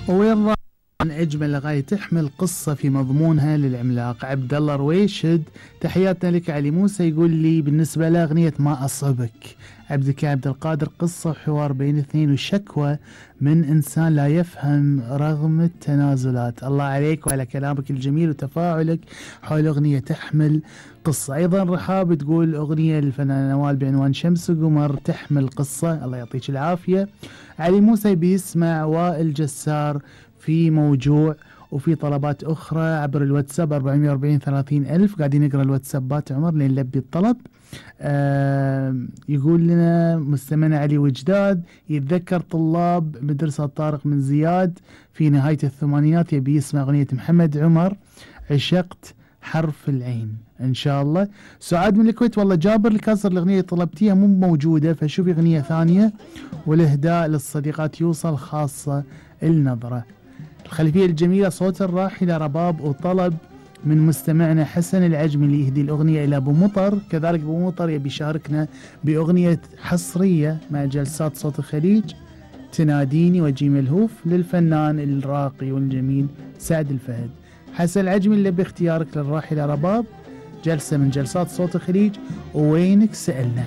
وين راح من أجمل أغاني تحمل قصة في مضمونها للعملاق عبد الله رويشد. تحياتنا لك علي موسى، يقول لي بالنسبة لأغنية ما أصبك عبد القادر، قصة وحوار بين اثنين وشكوى من إنسان لا يفهم رغم التنازلات. الله عليك وعلى كلامك الجميل وتفاعلك حول أغنية تحمل قصة. أيضا رحاب تقول أغنية للفنان نوال بعنوان شمس وقمر تحمل قصة، الله يعطيك العافية. علي موسى بيسمع وائل جسار في موجوع، وفي طلبات أخرى عبر الواتساب 440 30 ألف. قاعدين نقرأ الواتسابات عمر لين نلبي الطلب. يقول لنا مستمعنا علي وجداد يتذكر طلاب مدرسة طارق من زياد في نهاية الثمانينات، يبي يسمع أغنية محمد عمر عشقت حرف العين إن شاء الله. سعاد من الكويت، والله جابر الكسر الأغنية اللي طلبتيها مو موجودة، فشوفي أغنية ثانية. والإهداء للصديقات يوصل، خاصة النظرة. الخلفية الجميلة صوت الراحلة رباب، وطلب من مستمعنا حسن العجمي اللي يهدي الأغنية إلى أبو مطر. كذلك أبو مطر يبي يشاركنا بأغنية حصرية مع جلسات صوت الخليج تناديني وجي ملهوف للفنان الراقي والجميل سعد الفهد. حسن العجمي اللي باختيارك للراحلة رباب، جلسة من جلسات صوت الخليج ووينك سألنا.